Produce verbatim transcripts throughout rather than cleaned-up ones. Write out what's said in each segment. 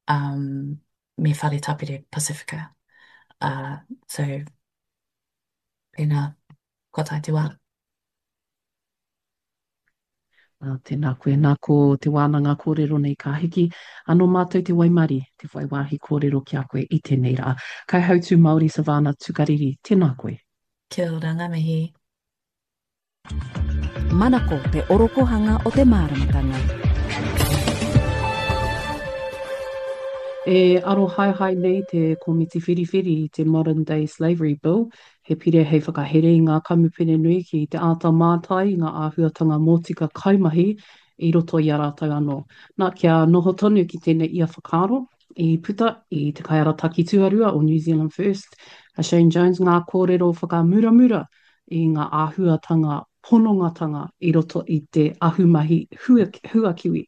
um, me Whare Tapere Pasifika. Uh, so, pēnā, kua tae te wā. Ā, tēnā koe, nā ko te wānanga kōrero nei ka hiki. Anō mātou te waimarie, te whai wāhi kōrero ki a koe i tēnei rā. Kaihautū Māori Savannah Tukariri, tēnā koe. Kia ora, ngā mihi. Manako te orokohanga o te māramatanga. E arohaehae nei te Komiti Whiriwhiri i te Modern Day Slavery Bill, he pire hei whakahere i ngā kamupene nui ki te āta mātai i ngā āhuatanga mōtika kaimahi i roto i a rātou anō. Nā, kia noho tonu ki tēnei ia whakaaro, i puta i te kaiarataki tuarua o New Zealand First, a Shane Jones, ngā kōrero whakamuramura i ngā āhuatanga ponongatanga i roto i te ahumahi huakiwi.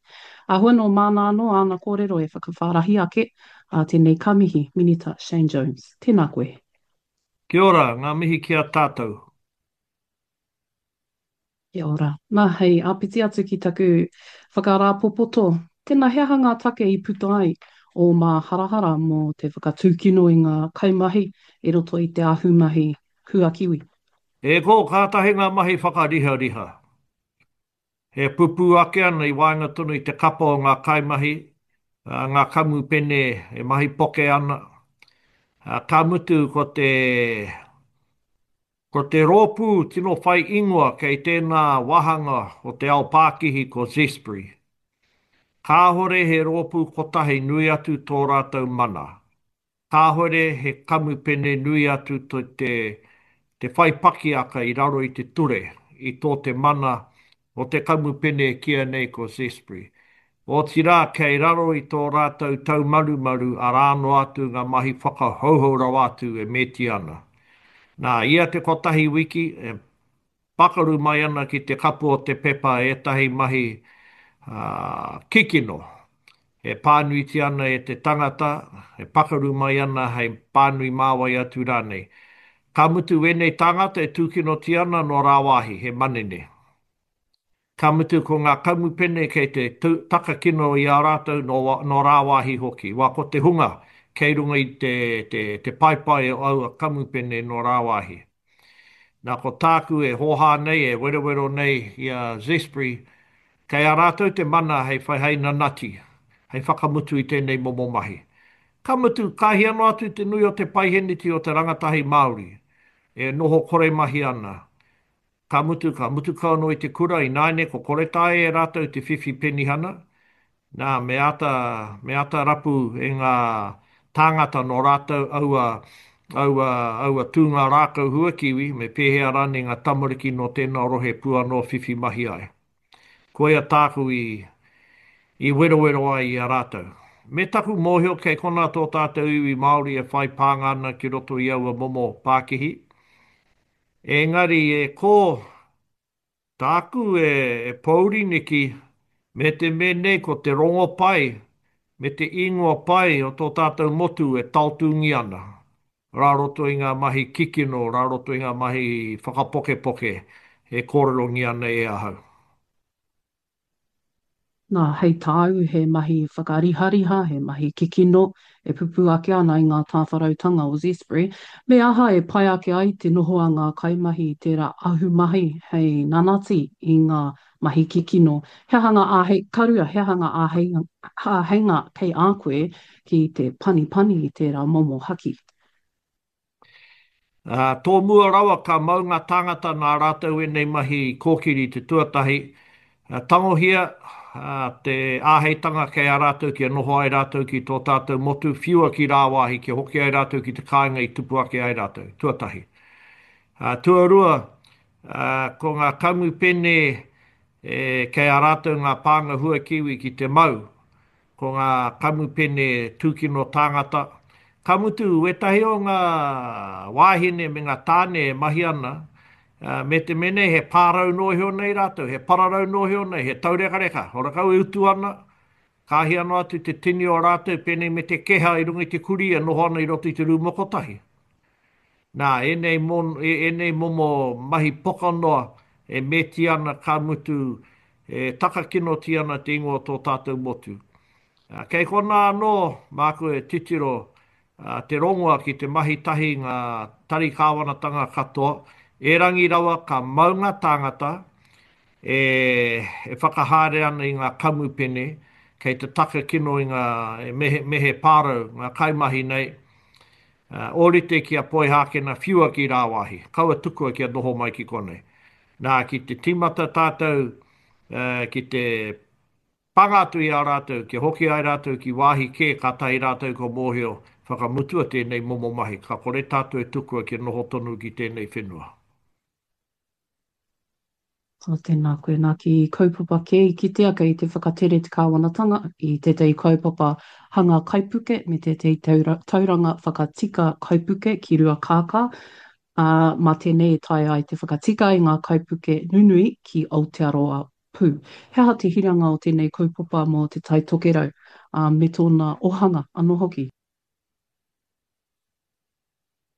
Āhua nō māna anō āna kōrero e whakawhārahi ake, ā, tēnei ka mihi, Minita Shane Jones. Tēnā koe. Kia ora, ngā mihi ki a tātou. Kia ora. Nā, hei āpiti atu ki taku whakarāpopoto, tēnā he aha ngā take i puta ai ō māharahara mō te whakatūkino i ngā kaimahi i roto i te ahumahi huakiwi? E kō, kātahi ngā mahi whakarihariha. E pupū ake ana i waenga tonu i te kapa o ngā kaimahi, ngā kamupene e mahi poke ana. Ka mutu ko te, ko te rōpū tino whai ingoa kei tēnā wāhanga o te ao pākihi ko Zespri. Kāhore he rōpū kotahi nui atu tō rātou mana. Kāhore he kamupene nui atu te te whai pakiaka i raro i te ture, i tō te mana o te kamupene e kīia nei ko Zespri. Otirā, kei raro i tō rātou taumarumaru arā noa atu ngā mahi whakahouhou rawa atu e mēti ana. Nā, ia te kotahi wiki, e Pakaru mai ana ki te kapu o te pepa ētahi mahi kikino e pānuitia ana e te tangata, e pakaru mai ana hei pānui mā wai atu rānei. Ka mutu wēnei tāngata e tūkinotia ana nō rāwāhi, he manene. Ka mutu ko ngā kamupene kei te takakino i a rātou nō rāwāhi hoki. Wā ko te hunga kei runga i te paepae o aua kamupene nō rāwāhi. Nā, ko tāku e hōhā nei, e werowero nei i a Zespri, kei a rātou te mana hei whai, hei nanati, hei whakamutu i tēnei momo mahi. Ka mutu, ka hia noa atu te nui o te paiheneti o te rangatahi Māori e noho kore mahi ana. Ka mutu, ka mutu kau anō i te kura, ināianei ko kore taea e rātou te whiwhi penihana, nā, me āta, me āta rapu e ngā tāngata nō rātou aua, aua, aua tūnga rākau huakiwi, me pēhea rānei ngā tamariki nō tēnā rohe pū anō whiwhi mahi ai. Koia tāku i, i werowero ai i a rātou. Me taku mōhio kei konā tō tātou iwi Māori e whai pānga ana ki roto i aua momo pākihi, Engari e kō, tāku e pōuri neki, me te me nei ko te rongo pai me te ingoa pai o tō tātou motu e taotūngia ana, rā roto i ngā mahi kikino, rā roto i ngā mahi whakapokepoke e kōrerongia ana e ahau. Nā, hei tāu, he mahi whakarihariha, he mahi kikino e pupū ake ana i ngā tāwharautanga o Zespri. Me aha e pai ake ai te noho a ngā kaimahi i tērā ahumahi hei nanati i ngā mahi kikino? He aha ngā āhei, ka rua, he aha ngā āheinga kei a koe ki te panipani i tērā momo haki? Ā, tōmua rawa ka mau ngā tāngata nā rātou ēnei mahi i kōkiri i te tuatahi, ā, tangohia, ā, te āheitanga kei a rātou kia noho ai rātou ki tō tātou motu, whiua ki rāwāhi kia hoki ai rātou ki te kāinga i tupu ake ai rātou, tuatahi. Ā, tuarua, ā, ko ngā kamupene e, kei a rātou ngā pānga huakiwi ki te mau, Ko ngā kamupene tūkino tāngata, ka mutu wētahi o ngā wāhine me ngā tāne e mahi ana, me te mea nei he pārau noa iho nei rātou, he pararau noa iho nei, he taurekareka, horakau e utu ana, ka hia noa atu te tini o rātou pēnei me te keha i runga i te kurī e noho ana i roto i te rūma kotahi. Nā, ēnei, ēnei momo mahi poka noa e mēti ana ka mutu e takakinotia ana te ingoa o tō tātou motu. Kei konā anō māku e titiro te rongoa ki te mahi tahi ngā tari kāwanatanga katoa, erangi rawa ka mau ngā tāngata e whakahaere ana i ngā kamupene kei te takakino i ngā me he pārau ngā kaimahi nei, ōrite ki a Poihākena whiua ki rāwāhi, kaua tukua kia noho mai ki konei. Nā, ki te tīmata tātou ki te Panga atu i a rātou, kia hoki ai rātou ki wāhi kē kātahi rātou kua mōhio, whakamutua tēnei momo mahi, ka kore tātou e tukua kia noho tonu ki tēnei whenua. Ā, tēnā koe. Nā, ki kaupapa kē i kitea kei te whakatere te kāwanatanga i tētahi kaupapa hanga kaipuke me tētahi tauranga whakatika kaipuke ki Ruakākā, ā, mā tēnei e taea ai te whakatika i ngā kaipuke nunui ki Aotearoa pū. He aha te hiranga o tēnei kaupapa mō Te Tai Tokerau, ā, me tōna ohanga anō hoki?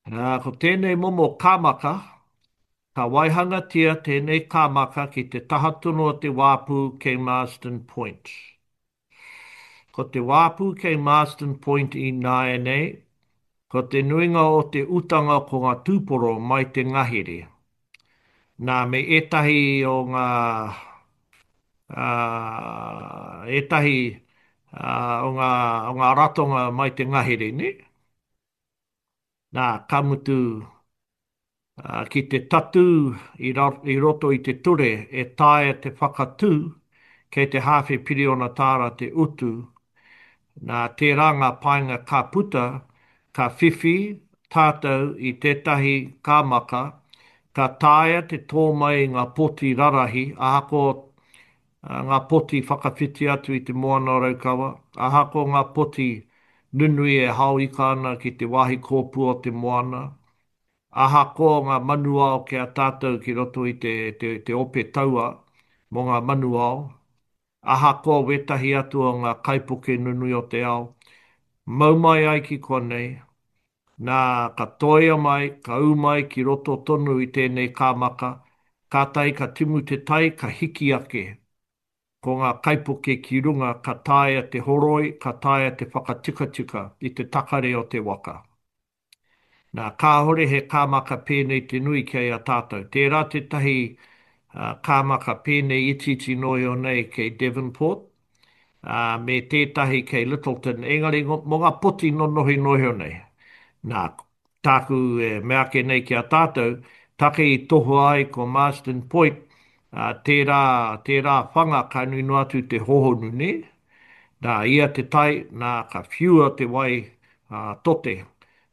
Ā, ko tēnei momo kāmaka, ka waihangatia tēnei kāmaka ki te taha tonu o te wāpu kei Marsden Point. Ko te wāpu kei Marsden Point ināianei, ko te nuinga o te utanga ko ngā tūporo mai te ngahere. Nā, me ētahi o ngā, ā, ētahi, ā, o ngā, o ngā ratonga mai te ngahere, nē? Nā, ka mutu, ā, ki te tatū i ra, i roto i te ture e taea te whakatū kei te hāwhe piriona tāra te utu, nā, tērā ngā painga ka puta, ka whiwhi tātou i tētahi kāmaka ka taea te tō mai i ngā poti rarahi ahakoa ngā poti whakawhiti atu i te Moana o Raukawa, ahakoa ngā poti nunui e hao ika ana ki te wāhi kōpua o te moana, ahakoa ngā manuao ki a tātou ki roto i te, te, te ope taua mō ngā manuao, ahakoa wētahi atu o ngā kaipuke nunui o te ao, mau mai ai ki konei, nā, ka toia mai, ka ū mai ki roto tonu i tēnei kāmaka, kātahi ka timu te tai, ka hiki ake. Ko ngā kaipuke ki runga ka taea te horoi, ka taea te whakatikatika i te takare o te waka. Nā, kāhore he kāmaka pēnei te nui kei a tātou. Tērā tētahi kāmaka pēnei itiiti noa iho nei kei Devonport, ā, me tētahi kei Lyttelton, engari mō ngā poti nonohi noa iho nei. Nā, tāku e mea ake nei ki a tātou, take i tohua ai ko Marsden Point, ā, tērā, tērā whanga ka nui noa atu te hōhonu, nē? Nā, ia te tai, nā, ka whiua te wai, ā, tote,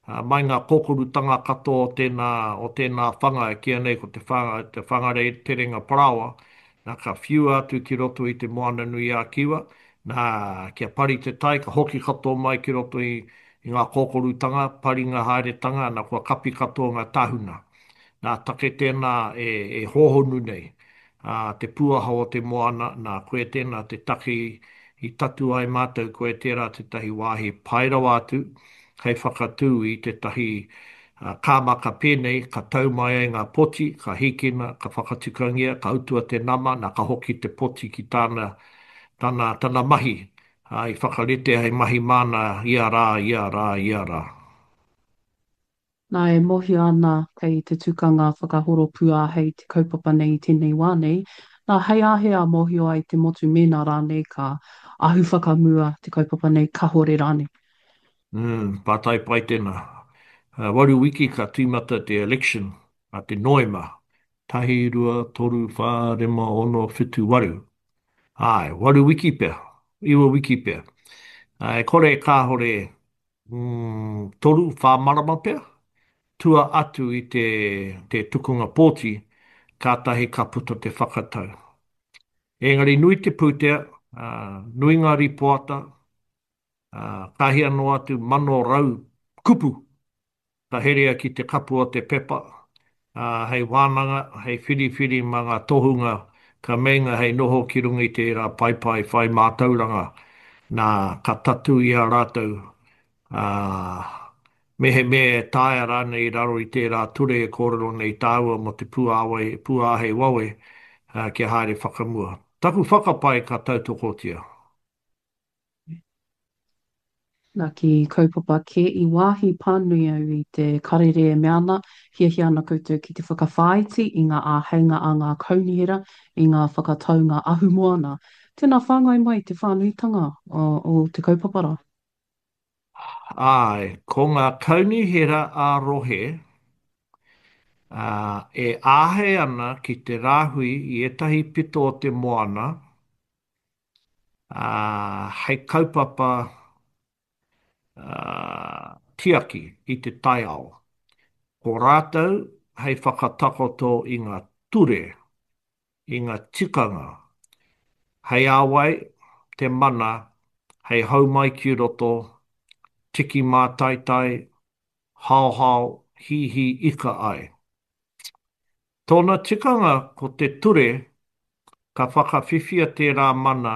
Ā, mai ngā kōkorutanga katoa o tēnā, o tēnā whanga e kīia nei ko te whanga, te Whangarei Terenga Parāoa, nā, ka whiua atu ki roto i te Moana-nui-ā-Kiwa, nā, kia pari te tai, ka hoki katoa mai ki roto i, i ngā kōkorutanga, paringa haeretanga, nā, kua kapi katoa ngā tāhuna. Nā, take tēnā e, e hōhonu nei, ā, te pūaha o te moana, nā, koe tēnā te take i tatu ai mātou, koe tērā tētahi wāhi pai rawa atu hei whakatū i tētahi kāmaka pēnei, ka tau mai ai ngā poti, ka hīkina, ka whakatikangia, ka utua te nama, nā, ka hoki te poti ki tāna, tana, tana mahi, ā, i whakaritea hei mahi māna ia rā, ia rā, ia rā. Nā, e mōhio ana kei te tukanga whakahoro pūāhei te kaupapa nei i tēnei wā nei. Nā, hei āhea mōhio ai te motu mēnā rānei ka ahu whakamua te kaupapa nei, kahore rānei? Mm, pātai pai tēnā. Waru wiki ka tīmata te election a te Noema. Tahi, rua, toru, whā, rima, ono, whitu, waru. Āe, waru wiki pea, iwa wiki pea. E kore kāore mm, toru, whā marama pea, tua atu i te, te tukunga pōti, kātahi ka puta te whakatau. Engari nui te pūtea, ā, nui ngā rīpoata, ā, ka hia noa atu mano rau kupu ka herea ki te kapu o te pepa, ā, hei wānanga, hei whiriwhiri mā ngā tohunga ka meinga hei noho ki runga i tērā paepae whai mātauranga, nā, ka tatū i a rātou, ā, mehemea e taea rānei i raro i tērā ture e kōrero nei tāua mō te pūāwai, pūāhei wawe, ā, kia haere whakamua. Taku whakapae ka tautokotia. Nā, ki kaupapa kē i wāhi pānui au i te karere e mea ana, hiahia ana koutou ki te whakawhāiti i ngā āheinga a ngā kaunihera i ngā whakataunga ahumoana. Tēnā whāngai mai te whānuitanga o te kaupapa rā. Āe, ko ngā kaunihera ā-rohe, ā, e āhei ana ki te rāhui i ētahi pito o te moana, ā, hei kaupapa, ā, tiaki i te taiao. Ko rātou hei whakatakoto i ngā ture, i ngā tikanga, hei a wai te mana hei hou mai ki roto, tiki mātaitai, haohao, hīhī ika ai. Tōna tikanga ko te ture ka whakawhiwhia tērā mana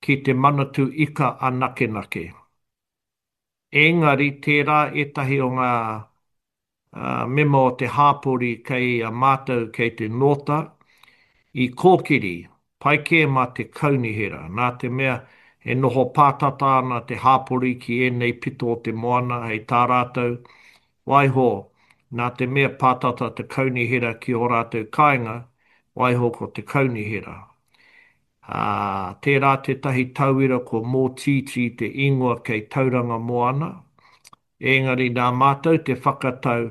ki te Manatū Ika anakenake. Engari tērā ētahi o ngā mema o te hāpori kei a mātou kei te nōta, i kōkiri, pai kē mā te kaunihera, nā te mea e noho pātata ana te hāpori ki ēnei pito o te moana hei tā rātou, waiho, nā te mea pātata te kaunihera ki ō rātou kāinga, waiho ko te kaunihera. Ā, tērā tētahi tauira ko Mōtītī te ingoa kei Tauranga Moana, Engari nā mātou te whakatau,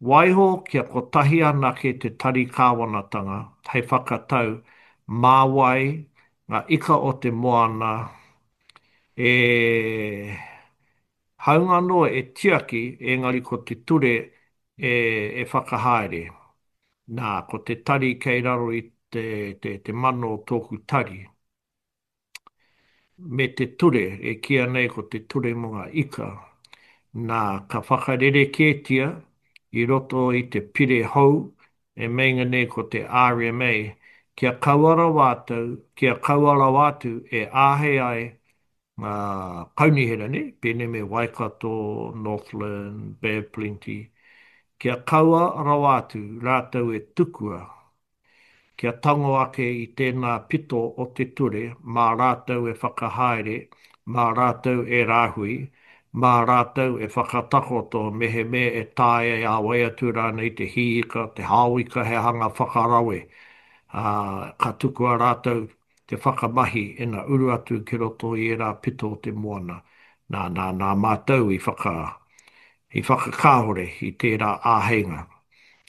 waiho kia kotahi anake te tari kāwanatanga hei whakatau mā wai ngā ika o te moana e hāunga anō e tiaki engari ko te ture e whakahaere. Nā, ko te tari kei raro i te mana o tōku tari. Me te ture e kīia nei ko te ture mō ngā ika, nā, ka whakarerekētia i roto i te pire hou e meinga nei ko te R M A, kia kaua rawa atu, kia kaua rawa atu e āhei ai ngā kaunihera, nē, pēnei me Waikato, Northland, Bay of Plenty, kia kaua rawa atu rātou e tukua kia tango ake i tēnā pito o te ture mā rātou e whakahaere, mā rātou e rāhui, mā rātou e whakatakoto mehemea e taea e a wai atu rānei te hī ika, te hao ika he hanga whakarawe, ā, ka tukua rātou te whakamahi ina uru atu ki roto i ērā pito o te moana. Nā, nā, nā mātou i whaka, i whakakāhore i tērā āheinga.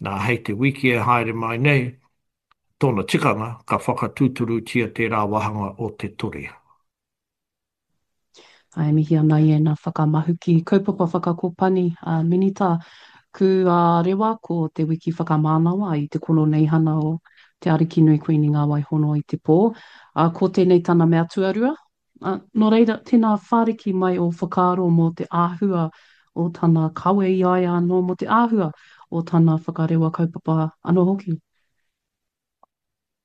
Nā, hei te wiki e haere mai nei, tōna tikanga, ka whakatūturutia tērā wāhanga o te ture. E mihi ana i ēnā whakamahuki kaupapa whakakopani a Minita Kūārewa ko te wiki whakamānawa i te koroneihana o Te Arikinui Kuini Ngā Waihono i te pō. Ā, ko tēnei tana mea tuarua. Ā, nō reira, tēnā whāriki mai ō whakaaro mō te āhua o tana kawe i a ia anō, mō te āhua o tana whakarewa kaupapa anō hoki.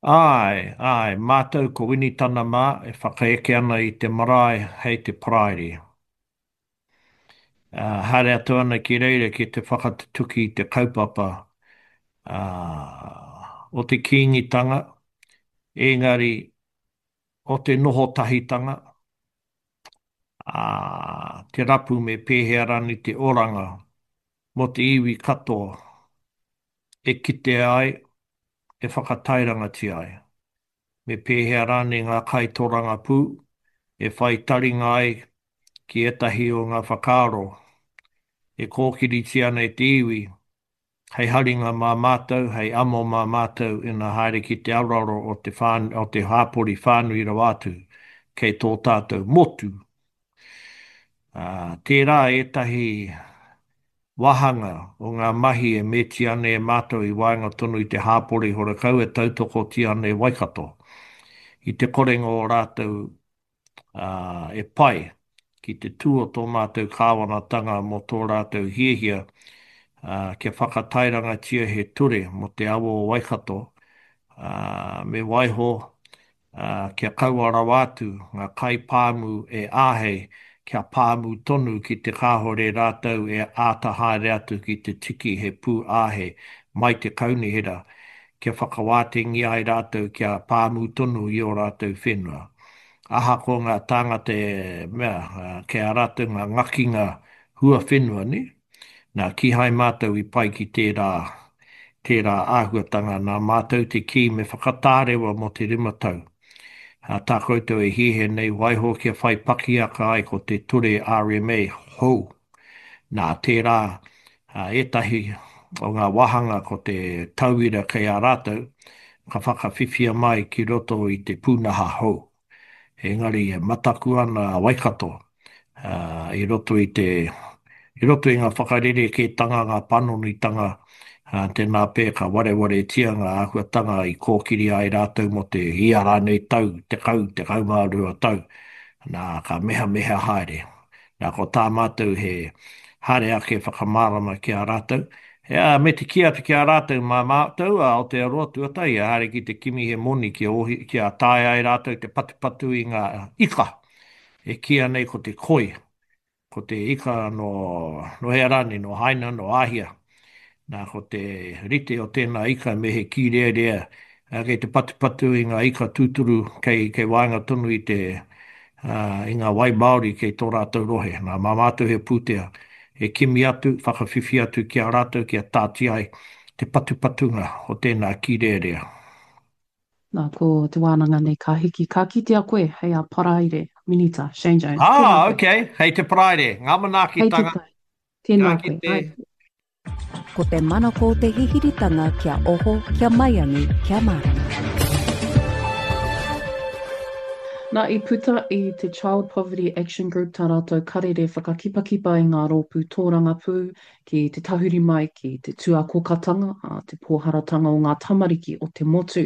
Āe, āe, mātou ko Winitana mā e whakaeke ana i te marae hei te Paraire. Ā, haere atu ana ki reira ki te whakatutuki i te kaupapa, ā, o te Kīngitanga, engari o te noho tahitanga, ā, te rapu me pēhea rānei te oranga mō te iwi katoa e kitea ai, e whakatairangatia ai. Me pēhea rānei ngā kaitorangapū e whai taringa ai ki ētahi o ngā whakaaro e kōkiritia ana e te iwi hei haringa mā mātou, hei amo mā mātou ina haere ki te aroaro o te o te hāpori whānui rawa atu kei tō tātou motu. Ā, tērā ētahi wāhanga o ngā mahi e metia ana e mātou i waenga tonu i te hāpori horekau e tautokotia ana e Waikato. I te korenga o rātou e pai ki te tū o tō mātou kāwanatanga mō tō rātou hiahia kia whakatairangatia he ture mō te awa o Waikato, me waiho kia kaua rawa atu ngā kaipāmu e āhei kia pāmu tonu ki te kāore rātou e āta haere atu ki te tiki he pū āhei mai te kaunihera kia whakawātengia ai rātou kia pāmu tonu i ō rātou whenua. Ahakoa ngā tāngata e mea, kei a rātou ngā ngakinga huawhenua, nē? Nā, kīhai mātou i pai ki tērā, tērā āhuatanga, nā mātou te kī me whakatārewa mō te rima tau. Ā, tā koutou e hiahia nei, waiho kia whai pakiaka ai ko te ture R M A hou. Nā, tērā, ā, ētahi o ngā wāhanga ko te tauira kei a rātou, ka whakawhiwhia mai ki roto i te pūnaha hou. Engari e mataku ana a Waikato, ā, i roto i te, i roto i ngā whakarerekētanga, ngā panonitanga, ā, tēnā pea ka warewaretia ngā āhuatanga i kōkiri ai rātou mō te ia rānei tau, tekau, tekau mā rua tau, nā, ka mehameha haere. Nā, ko tā mātou he haere ake whakamārama ki a rātou, ā, me te kī atu ki a rātou, mā mātou a Aotearoa tuatahi e haere ki te kimi he moni kia ohi, kia taea ai rātou te patupatu i ngā ika e kīia nei ko te koi, ko te ika nō, nō hea rānei, nō Haina, nō Āhia. Nā, ko te rite o tēnā ika me he kīrearea, ā, kei te patupatu i ngā ika tūturu kei, kei waenga tonu i te, ā, i ngā wai māori kei tō rātou rohe. Nā, mā mātou he pūtea e kimi atu, whakawhiwhi atu ki a rātou kia tāti ai te patupatunga o tēnā kīrearea. Nā, ko te wānanga nei ka hiki, ka kitea koe hei a Paraire, Minita, Shane Jones. Ah, Tēnā koe. ok, hei te Paraire. Ngā Hei te manaakitanga. tai. Tēnā Ka koe. kite. Ai. Ko te manako te hihiritanga kia oho, kia maiangi, kia mārama. Nā, i puta i te Child Poverty Action Group tā rātou karere whakakipakipa i ngā rōpū tōrangapū ki te tahuri mai ki te tuakokatanga, ā, te pōharatanga o ngā tamariki o te motu.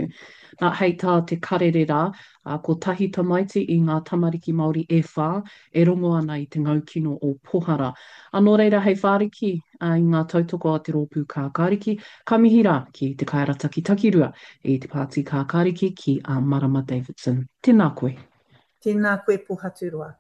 Nā, hei tā te karere rā, ā, kotahi tamaiti i ngā tamariki Māori e whā e rongo ana i te ngaukino o Pohara. Ā, nō reira hei whāriki i ngā tautoko a te Rōpū Kākāriki, ka mihi rā ki te kaiarataki takirua i te Pāti Kākāriki ki a Marama Davidson. Tēnā koe. Tēnā koe Pohaturoa.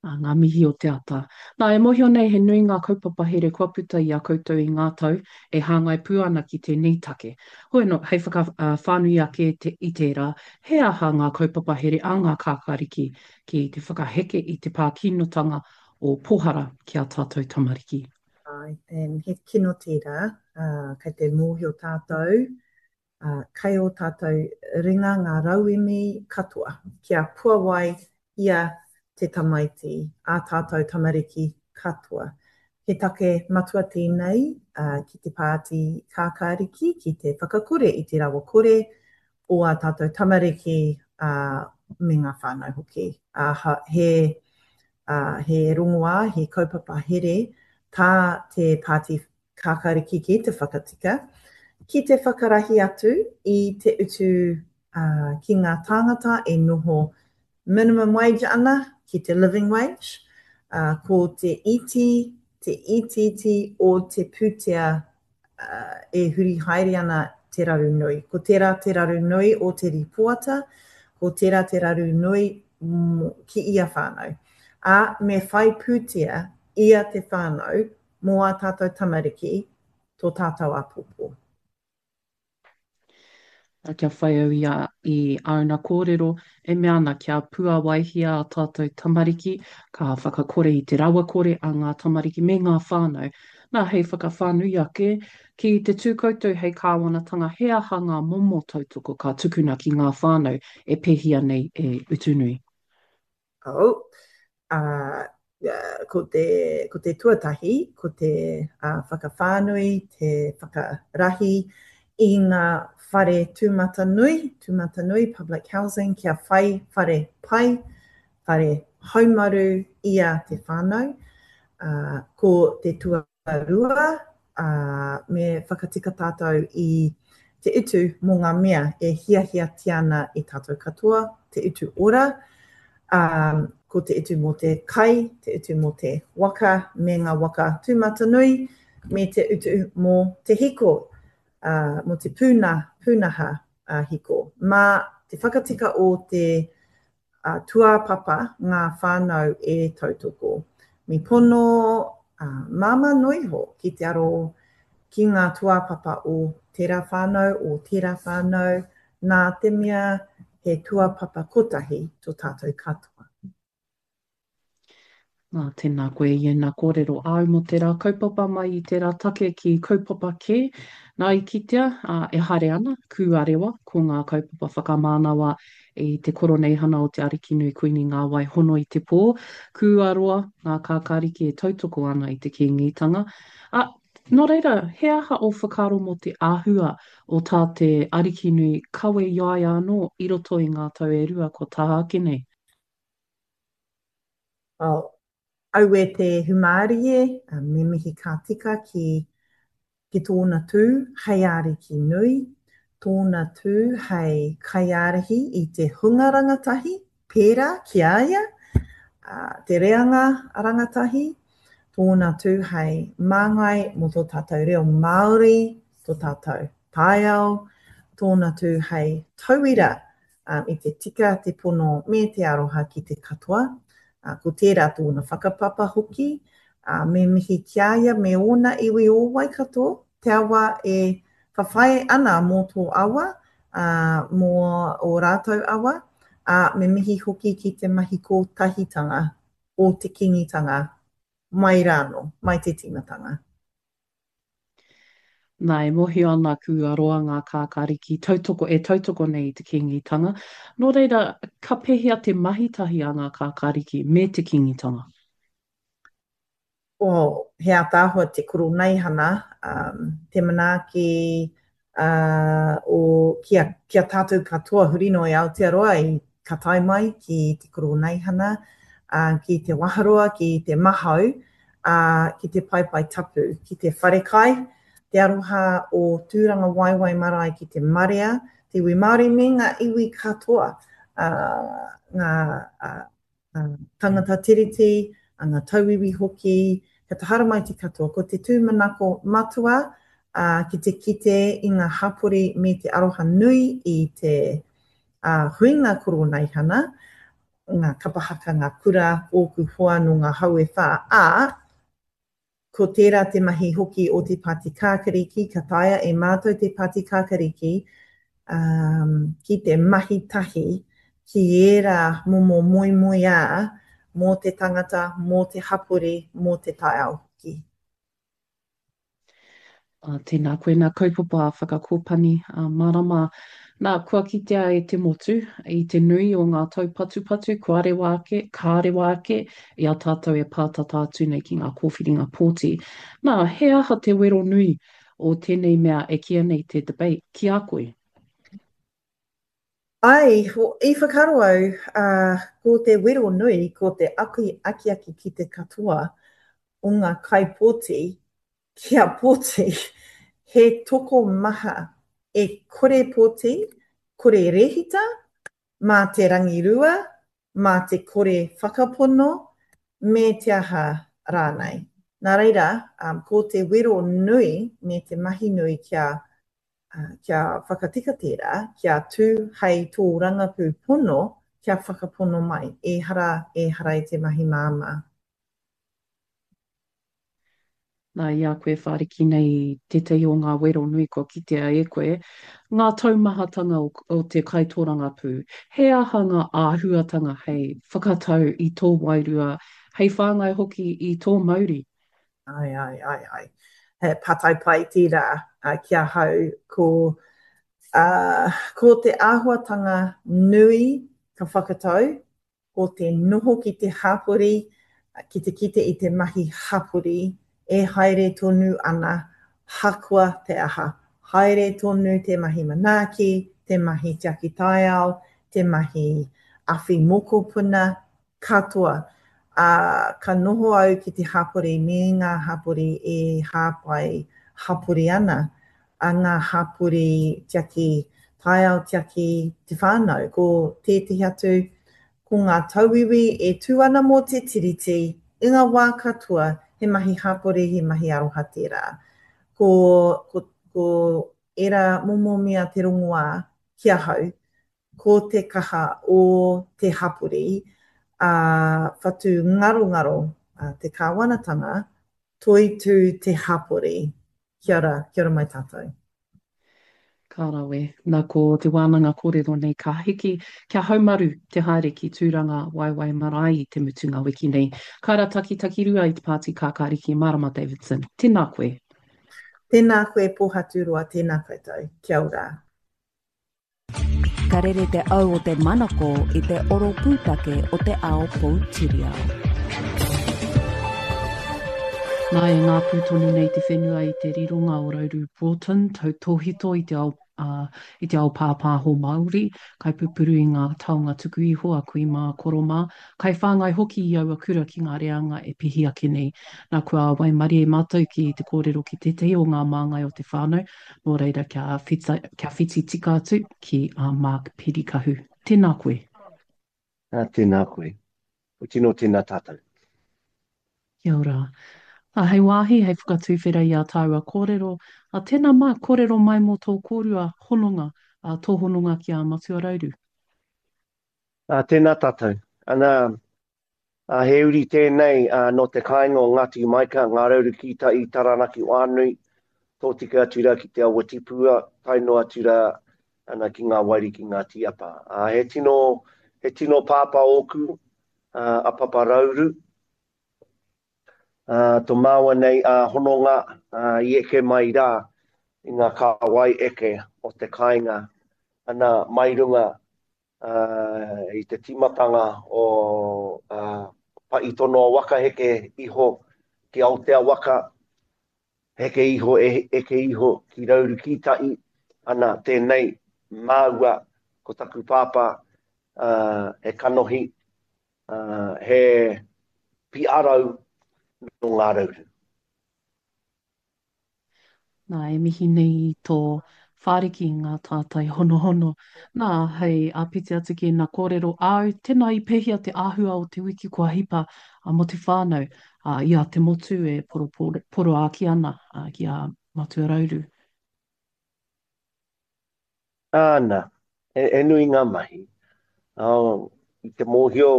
Ā, ngā mihi o te ata. Nā, e mōhio nei he nui ngā kaupapa here kua puta i a koutou i ngā tau e hāngai pū ana ki tēnei take. Hoi anō, hei whakawhānui ake te, i tērā, he aha ngā kaupapa here a ngā kākāriki ki te whakaheke i te pā kinotanga o Pohara ki ā tātou tamariki? Āe, and he kino tērā, ā, kei te mōhio tātou, ā, kei ō tātou ringa ngā rauemi katoa kia puawai ia te tamaiti, ā tātou tamariki katoa. He take matua tēnei ki te Pāti Kākāriki ki te whakakore i te rawakore o ā tātou tamariki, ā, me ngā whānau hoki. Ā, he, ā, he rongoā, he kaupapa here tā te Pāti Kākāriki ki te whakatika, ki te whakarahi atu i te utu, ā, ki ngā tāngata e noho minimum wage ana ki te living wage, ā, ko te iti, te itiiti o te pūtea e huri haere ana te raru nui. Ko tērā te raru nui o te rīpoata, ko tērā te raru nui ki ia whānau. Ā, me whai pūtea ia te whānau mō ā tātou tamariki, tō tātou āpōpō. Kia whai au i a, i āna kōrero e mea ana kia puāwaihia ā tātou tamariki, ka whakakore i te rawakore a ngā tamariki me ngā whānau. Nā, hei whakawhānui ake, ki te tū koutou hei kāwanatanga, he aha ngā momo tautoko ka tukuna ki ngā whānau e pēhia nei e Utunui? Oh, ā, ko te, ko te tuatahi, ko te whakawhānui, te whakarahi i ngā whare tūmatanui, tūmatanui, public housing, kia whai whare pai, whare haumaru ia te whānau. Ā, ko te tua Rua, ā, me whakatika tātou i te utu mō ngā mea e hiahiatia ana e tātou katoa, te utu ora, ā, ko te utu mō te kai, te utu mō te waka me ngā waka tūmatanui, me te utu mō te hiko, ā, mō te pūna, pūnaha hiko. Mā te whakatika o te tūāpapa ngā whānau e tautoko. Me pono, ā, māmā noa iho ki te aro ki ngā tūāpapa o tērā whānau, o tērā whānau, nā te mea he tuapapa kotahi to tātou katoa. Nā, tēnā koe i ēnā kōrero āu mō tērā kaupapa mai i tērā take ki kaupapa kē. Nā, i kitea, ā, e haere ana, kūarewa, ko ngā kaupapa whakamānawa i te Koroneihana o Te Arikinui Kuini Ngā Wai Hono i te Pō, kūaroa ngā kākāriki e tautoko ana i te Kīngitanga. Ā, nō reira, he aha ō whakaaro mō te āhua o tā te Arikinui kawe i a ia anō i roto i ngā tau e rua kua taha ake nei? Well, aue te humārie, me mihi ka tika ki, ki tōna tū hei ariki nui, tōna tū hei kaiārahi i te hunga rangatahi, pērā ki a ia, te reanga rangatahi, tōna tū hei māngai mō tō tātou reo Māori, tō tātou taiao, tōna tū hei tauira i te tika, te pono me te aroha ki te katoa. Ko tērā tōna whakapapa hoki, me mihi ki a ia me ōna iwi o Waikato, te awa e whawhai ana mō tō awa, mō ō rātou awa, ā, me mihi hoki ki te mahi kōtahitanga o te Kīngitanga mai rānō, mai te tīmatanga. Nā, e mōhio ana kua roa ngā kākāriki tautoko e tautoko nei i te Kīngitanga. Nō reira, ka pēhea te mahi tahi a ngā kākāriki me te Kīngitanga? Oh, he ātaahua te koroneihana, um, te manaaki uh, o, ki a, ki a tātou katoa huri noa i Aotearoa i ka tae mai ki te koroneihana, uh, ki te waharoa, ki te mahau, ā, ki te paepae tapu, ki te wharekai, te aroha o Tūrangawaewae marae ki te marea, te iwi Māori me ngā iwi katoa, ā, ngā tangata tiriti, ā, ngā tauiwi hoki, kia te haramai te katoa. Ko te tūmanako matua, ā, ki te kite i ngā hapori me te aroha nui i te, ā, huinga koroneihana, ngā kapa haka, ngā kura, ōku hoa nō ngā hau e whā, ā, ko tērā te mahi hoki o te Pāti Kākariki, ka taea e mātou te Pāti Kākariki um, ki te mahi tahi ki ērā momo moemoeā mō te tangata, mō te hapori, mō te taiao hoki. Ā, tēnā koe nā kaupapa whakakōpani ā, marama. Nā, kua kitea e te motu i te nui o ngā taupatupatu kua rewa ake, ka rewa ake i a tātou e pātata atu nei ki ngā kōwhiringa pōti. Nā, he aha te wero nui o tēnei mea e kīia nei te debate ki a koe? Ai, i whakaaro au, ā, ko te wero nui, ko te akiaki ki te katoa o ngā kaipōti kia pōti, he tokomaha e kore pōti, kore rēhita, mā te rangirua, mā te kore whakapono, me te aha rānei. Nā reira, ko te wero nui me te mahi nui kia, kia whakatika tērā, kia tū hei tōrangapū pono, kia whakapono mai. Ehara, ehara i te mahi māmā. Nā, i a koe whāriki nei tētahi o ngā wero nui kua kitea e koe, ngā taumahatanga o, o te kaitōrangapū. He aha ngā āhuatanga hei whakatau i tō wairua, hei whāngai hoki i tō mauri? Ai, ai, ai, ai. He pātai pai tērā ki ahau, ko, uh, ko te āhuatanga nui ka whakatau, ko te noho ki te hapori, ki te kite i te mahi hapori e haere tonu ana hakoa te aha. Haere tonu te mahi manaaki, te mahi tiaki taiao, te mahi awhi mokopuna, katoa. Ā, ka noho au ki te hapori me ngā hapori e hāpai hapori ana, a ngā hapori tiaki taiao, tiaki te whānau. Ko tētehi atu, Ko ngā tauiwi e tū ana mō te Tiriti i ngā wā katoa, he mahi hapori, he mahi aroha tērā. Ko, ko, ko ērā momo mea te rongoā ki ahau, ko te kaha o te hapori, ā, whatu ngarongaro te kāwanatanga, toitū te hapori. Kia ora, kia ora mai tātou. Ka rawe. Na ko te wānanga kōrero nei ka hiki, kia haumaru te haere ki Tūranga Waewae Marae i te mutunga wiki nei. Kaira Takitakirua i te Pāti Kākāriki Marama Davidson. Tēnā koe. Tēnā koe Pōhaturoa, tēnā koutou. Kia ora. Ka rere te au o te manako i te oro pūtake o te ao poutiriao. Nā, e ngāpū tonu nei te whenua i te rironga o Rauru Broughton, tautōhito i te ao, ā, i te ao pāpāho Māori, kaipupuru i ngā taonga tuku iho a kui mā, koro mā, kaiwhāngai hoki i aua kura ki ngā reanga e pihi ake nei. Nā, kua waimarie mātou ki te kōrero ki tētahi o ngā māngai o te whānau, Nō reira, kia, whita, kia whiti tika atu ki a Mark Pirikahu. Tēnā koe. Ah, tēnā koe. O tino tēnā tātou. Kia ora. A, hei wāhi, hei whakatuwhera i ā tāua kōrero, a, tēnā Mark, kōrero mai mō tō kōrua hononga, a, tō hononga ki a Matua Rauru. Ah, tēnā tātou. Ana, Ā, he uri tēnei nō te kāinga o Ngāti Maika, Ngā Rauru ki Tai, Taranaki Whānui, tōtika atu rā ki Te Awa Tipua, tae noa atu rā ana ki Ngā Wairiki Ngāti Apa. Ā, he tino, he tino pāpā ōku, ā, a Papa Rauru. Ā, tō māua nei ā hononga, ā, i eke mai rā i ngā kāwai eke o te kāinga, ana, mai runga i te tīmatanga o Paʻitonoa waka heke iho ki Aotea waka, heke iho eke iho ki Rauru ki Taʻi, ana tēnei māua ko taku pāpā he kanohi, he piarau nō Ngā Rauru. Nā, e mihi nei i tō whāriki i ngā tātai honohono. Nā, hei āpiti atu ki ēnā kōrero āu, tēnā i pēhea te āhua o te wiki kua hipa mō te whānau, ā, i a te motu e poroāki ana ki a Matua Rauru? Āna, he nui ngā mahi. I te mōhio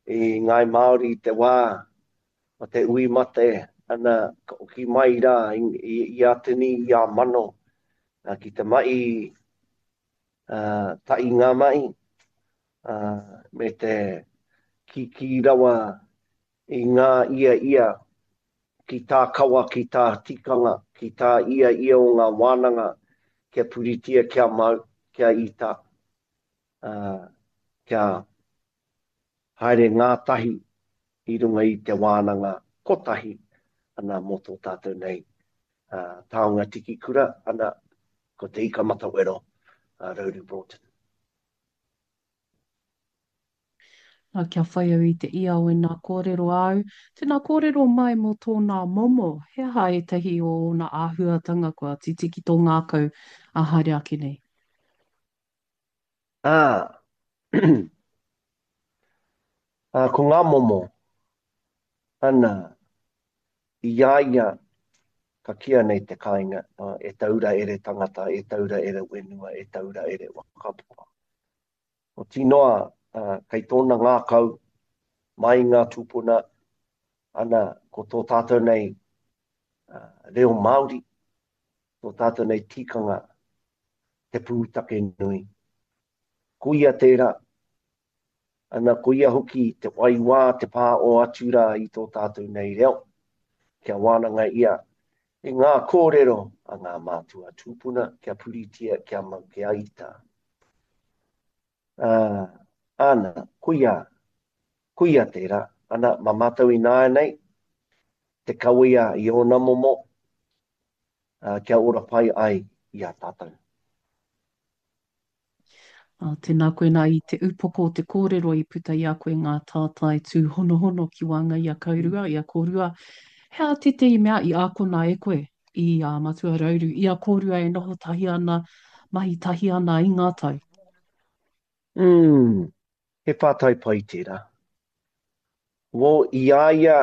i Ngāi Māori i te wā o te ui mate, ana, ka oki mai rā i a tini, i a mano, ki te mahi tahi ngā mahi, me te kīkī rawa i ngā ia ia ki tā kawa, ki tā tikanga, ki tā ia ia o ngā wānanga kia puritia, kia mau, kia ita, kia haere ngātahi i runga i te wānanga kotahi ana mō tō tātou nei taonga tiki kura, ana, ko Te Ika Matawero, a Rauru Broughton. Nā, kia whai au i te ia o ēnā kōrero āu, tēnā kōrero mai mō tōnā momo, he aha ētahi o ōna āhuatanga kua titi ki tō ngākau ā haere ake nei? Ā, ā, ko ngā momo, ana, i a ia ka kīa nei te kāinga, e taura ere tangata, e taura ere whenua, e taura ere waka. Oti noa, kei tōna ngākau, mai i ngā tūpuna, ana, ko tō tātou nei reo Māori, tō tātou nei tikanga, te pūtake nui. Ko ia tērā, ana, ko ia hoki te waiwā, te pā o atu rā i tō tātou nei reo, kia wānanga ia i ngā kōrero a ngā mātua tūpuna, kia puritia, kia mau, kia ita. Ā, āna, koia, koia tērā, ana, mā mātou ināianei, te kawea i ōna momo, ā, kia ora pai ai i a tātou. Ā, tēnā koe nā i te upoko o te kōrero i puta i a koe ngā tātai tūhonohono ki waenga i a kaurua, i a kōrua. He aha tētehi mea i ākona e koe i a Matua Rauru, i a kōrua e noho tahi ana, mahi tahi ana i ngā tau? Umm, he pātai pai tērā. Wō, i a ia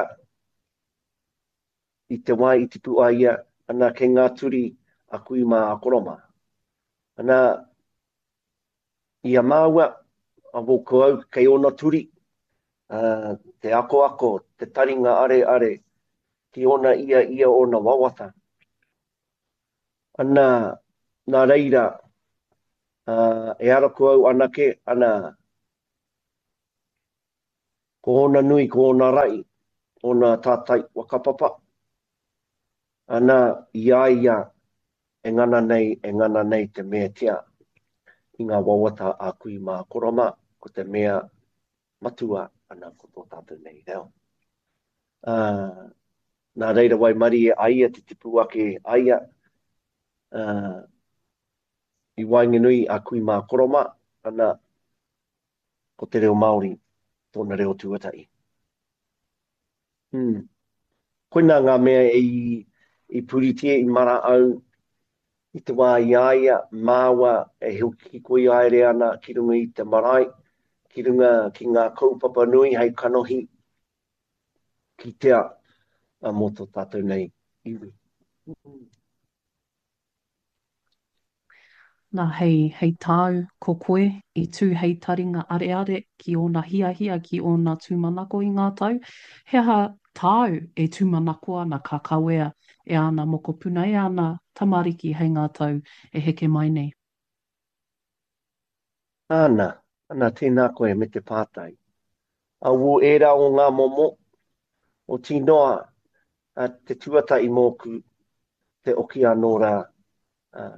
i te wā i tipu ai ia, ana kei ngā turi a kui mā a koro mā. Ana, i a māua, a wō ko au kei ōna turi, ā, te akoako, te taringa areare ki ōna ia ia ōna wawata. Ana, nā reira, Ā, ehara ko au anake, ana, ko ōna nui, ko ōna rahi, ōna tātai whakapapa, ana, i a ia e ngana nei, e ngana nei te meatia i ngā wawata a kui mā koro mā, ko te mea matua, ana, ko tō tātou nei reo. Ā, nā reira waimarie a ia te tipu ake a ia, ā, i waenganui a kui mā koro mā, ana, ko te reo Māori tōna reo tuatahi. Hmm. Koinā ngā mea i, i puritia, i mara au i te wā i a ia, māua e hikoi haere ana ki runga i te marae, ki runga ki ngā kaupapa nui hei kanohi kitea mō tō tātou nei iwi. Nā, hei, hei tāu, ko koe, i tū hei taringa areare ki ōna hiahia, ki ōna tūmanako i ngā tau, he aha tāu e tūmanako ana ka kawea e āna mokopuna, e āna tamariki hei ngā tau e heke mai nei? Āna, ana, tēnā koe me te pātai. Aū ērā o ngā momo, oti noa, te tuatahi mōku, te oki anō rā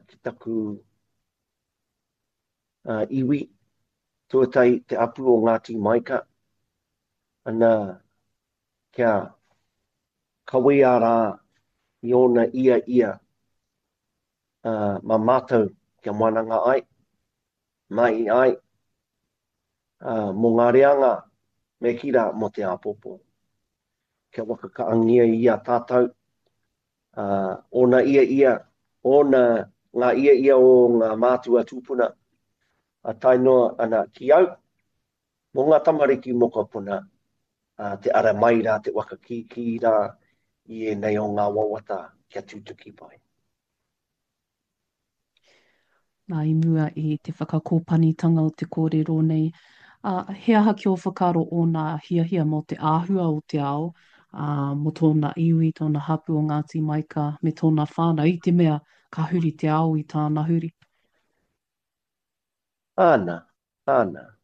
ki taku iwi, tuatahi te apu o Ngāti Maika, ana, kia kawea rā i ōna ia ia mā mātou kia wananga ai, mahi ai, mō ngā reanga me kī rā mō te āpōpō. Kia whakakahangia i a tātou, ōna ia ia, ōna, ngā ia ia o ngā mātua tūpuna, a tae noa ana ki au, mō ngā tamariki mokopuna, te ara mai rā, te waka kīkī rā i ēnei o ngā wawata kia tutuki pai. Nā, i mua i te whakakōpanitanga o te kōrero nei, ā, he aha ki ō whakaaro ōna hiahia mō te āhua o te ao, ā, mō tōna iwi, tōna hapū o Ngāti Maika me tōna whānau, i te mea ka huri te ao i tāna huri? Āna, āna.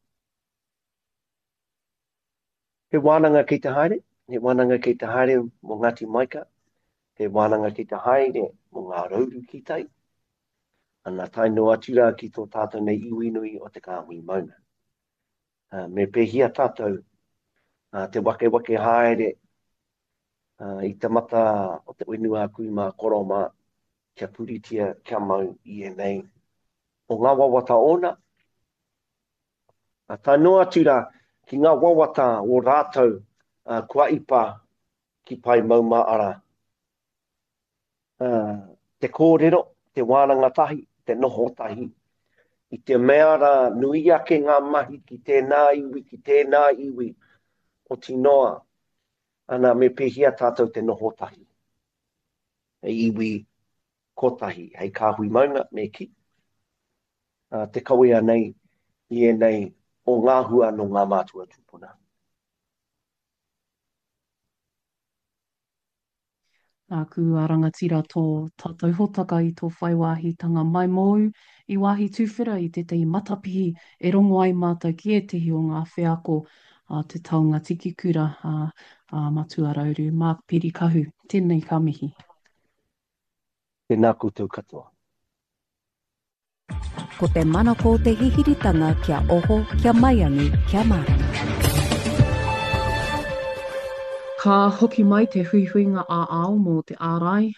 He wānanga kei te haere, he wānanga kei te haere mō Ngāti Maika, he wānanga kei te haere mō Ngā Rauru ki tai, ana tae noa atu rā ki tō tātou nei iwi nui o te kāhui maunga. Uh, me pēhia tātou uh, te wakewake haere uh, i te mata o te whenua kui mā koro mā, kia puritia, kia mau i ēnei o ngā wawata ōna. Uh, tae noa atu rā ki ngā wawata o rātou uh, kua ipa ki Pae Maumāara. Uh, te kōrero, te wānanga tahi, te noho tahi, i te mea rā nui ake ngā mahi ki tēnā iwi, ki tēnā iwi, oti noa, ana me pēhea tātou te noho tahi. Hei iwi kotahi, hei kāhui maunga, me kī, uh, te kawea nei i ēnei o ngā hua nō ngā mātua tūpuna. Nāku a rangatira tō tātou hōtaka i tō whai wāhitanga mai mōu i wāhi tuwhera i tētahi matapihi e rongo ai mātou ki ētahi o ngā wheako a te taonga tiki kura a, a Matua Rauru, Mark Pirikahu. Tēnei ka mihi. Tēnā koutou katoa. Ko te manako o te hihiritanga kia oho, kia maiangi, kia mārama. Ka hoki mai te huihuinga ā-ao mō te ārai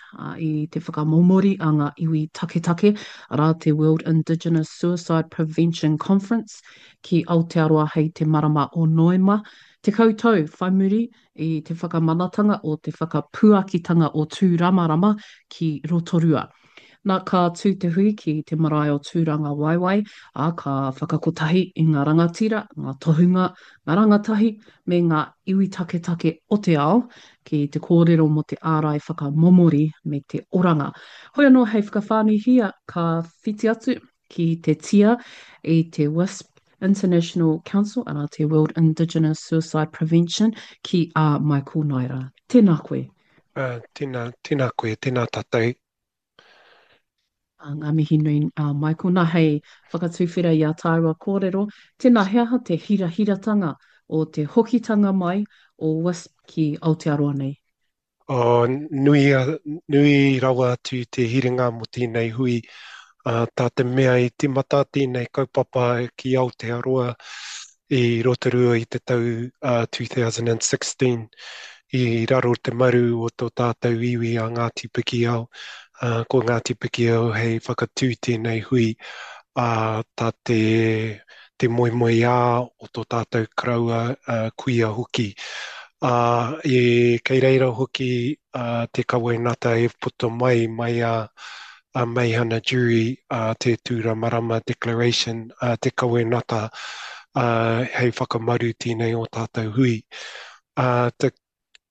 i te whakamomori a ngā iwi taketake, arā te World Indigenous Suicide Prevention Conference, ki Aotearoa hei te marama o Noema, tekau tau whai muri i te whakamanatanga o te whakapuakitanga o Tūramarama ki Rotorua. Na, ka tū te hui ki te marae o Tūrangawaewae, ā, ka whakakotahi i ngā rangatira, ngā tohunga, ngā rangatahi me ngā iwi taketake o te ao ki te kōrero mō te ārai whakamomori me te oranga. Hoi anō hei whakawhānuihia ka whiti atu ki te tia i te WISP International Council, arā te World Indigenous Suicide Prevention, ki a Michael Naera. Tēnā koe. Uh, tēnā, tēnā koe, tēnā tātou. Ngā mihi nui a Michael. Nā, hei whakatuwhera i ā tāua kōrero, tēnā he aha te hirahiratanga o te hokitanga mai o WISP ki Aotearoa nei? Oh, nui, nui rawa atu te hiringa mō tēnei hui, uh, tā te mea i timata tēnei kaupapa ki Aotearoa i Rotorua i te tau uh, two thousand sixteen i raro te maru o tō tātou iwi a Ngāti Pikiao. Uh, ko Ngāti Pikiao hei whakatū tēnei hui uh, tā te, te moemoeā o tō tātou karaua uh, kuia hoki. Uh, e, kei reira hoki uh, te kawenata e puta mai mai a, a Meihana Jury, uh, te Tūramarama Declaration, uh, te kawenata uh, hei whakamaru tēnei o tātou hui. Uh, te,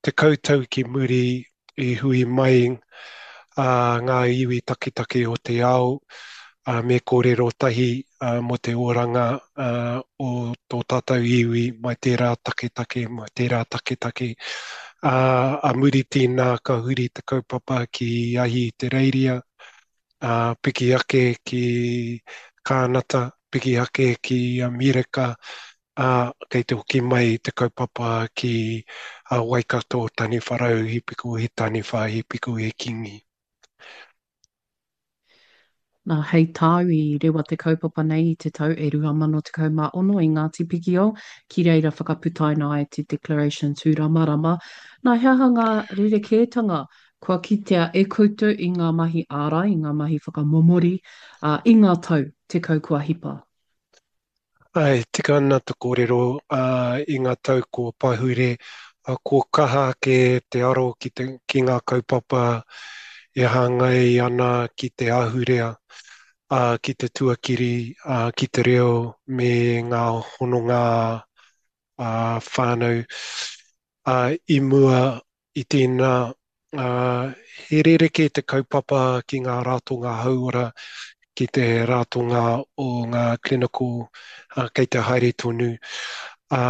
te kautau ki muri i hui mai uh, ngā iwi taketake o te ao, uh, me kōrero tahi uh, mō te oranga uh, o tō tātou iwi mai tērā taketake, mai tērā taketake. Uh, a muri tēnā ka huri te kaupapa ki Ahi Te Reiria, uh, piki ake ki Kānata, piki ake ki Amerika, uh, kei te hoki mai te kaupapa ki uh, Waikato, Taniwharau, Hipiko, he Taniwha, Hipiko, he Kingi. Nā, hei tāu i rewa te kaupapa nei i te tau e rua mano tekau mā ono i Ngāti Pikiao, ki reira whakaputaina ai te Declaration Tūramarama. Nā, he aha ngā rerekētanga kua kitea e koutou i ngā mahi ārai, i ngā mahi whakamomori, ā, i ngā tau tekau kua hipa? Ai, tika ana te kōrero, ā, i ngā tau kua pahure, ā, kua kaha ake te aro ki te, ki ngā kaupapa e hāngai ana ki te ahurea, ā, ki te tuakiri, ā, ki te reo me ngā hononga ā, whānau. Ā, i mua i tēnā, ā, he rerekē te kaupapa ki ngā ratonga hauora, ki te ratonga o ngā clinical, ā, kei te haere tonu. Ā,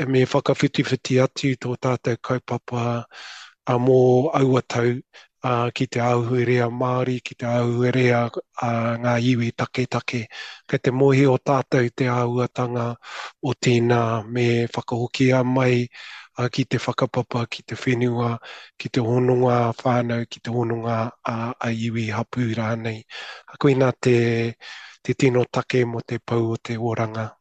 me whakawhitiwhiti atu tō tātou kaupapa, ā, mō aua tau, ā, ki te ahurea Māori, ki te ahurea, ā, ngā iwi taketake. Kei te mōhio tātou te āhuatanga o tēnā me whakahokia mai, ā, ki te whakapapa, ki te whenua, ki te hononga whānau, ki te hononga a, a iwi hapū rānei. Koinā te, te tino take mō te pou o te oranga.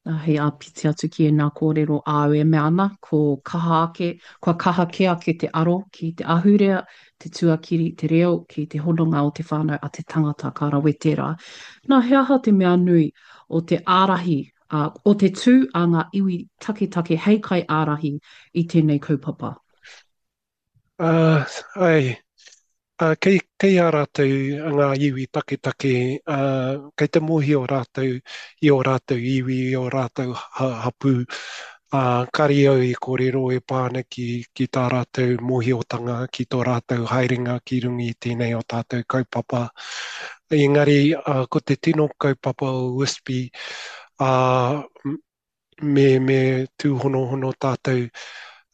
Nā, hei āpiti atu ki ēnā kōrero āu e mea ana, ko kaha ake, kua kaha kē ake te aro ki te ahurea, te tuakiri, te reo, ki te hononga o te whānau a te tangata ka rawe tērā. Nā, he aha te mea nui o te ārahi, ā, o te tū a ngā iwi taketake hei kaiārahi i tēnei kaupapa? Uh, ai, uh, kei, kei a rātou ngā iwi taketake, uh, kei te mōhio rātou i ō rātou iwi, i ō rātou ha-, hapū. Uh, kari au i kōrero e pā ana ki, ki tā rātou mōhiotanga, ki tō rātou haerenga ki runga i tēnei o tātou kaupapa. Engari, uh, ko te tino kaupapa o W I S P, uh, me, me tūhonohono tātou,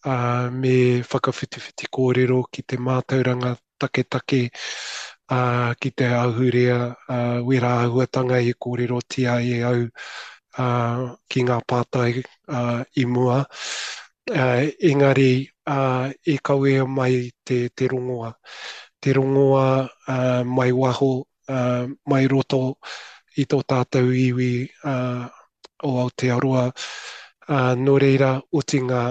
uh, me whakawhitiwhiti kōrero ki te mātauranga taketake, uh, ki te ahurea, uh, wera āhuatanga i kōrerotia e au, uh, ki ngā pātai, uh, i mua. Uh, engari, uh, i kawea mai te, te rongoa. Te rongoa, uh, mai waho, uh, mai roto i tō tātou iwi, uh, o Aotearoa. Uh, nō reira, otinga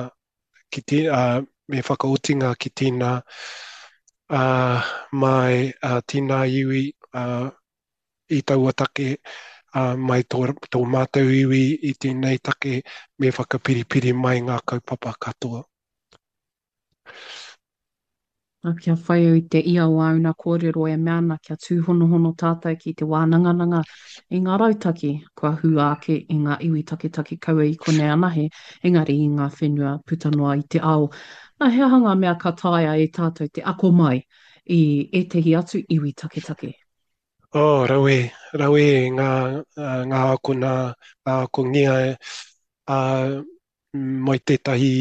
ki te, uh, me whakaotinga ki tēnā, uh, mai, uh, tēnā iwi, uh, i taua take, uh, mai tō, tō mātou iwi i tēnei take, me whakapiripiri mai ngā kaupapa katoa. Nā, kia whai au i te ia o āuna kōrero e mea ana kia tūhonohono tātou ki te wānangananga i ngā rautaki kua hua ake i ngā iwi taketake kaua i konei anahe, engari i ngā whenua puta noa i te ao. Nā, he aha ngā mea ka taea e tātou te ako mai i ētahi atu iwi taketake? Oh, rawe, rawe ngā, ngā akona, ngā akongia, uh, mai tētahi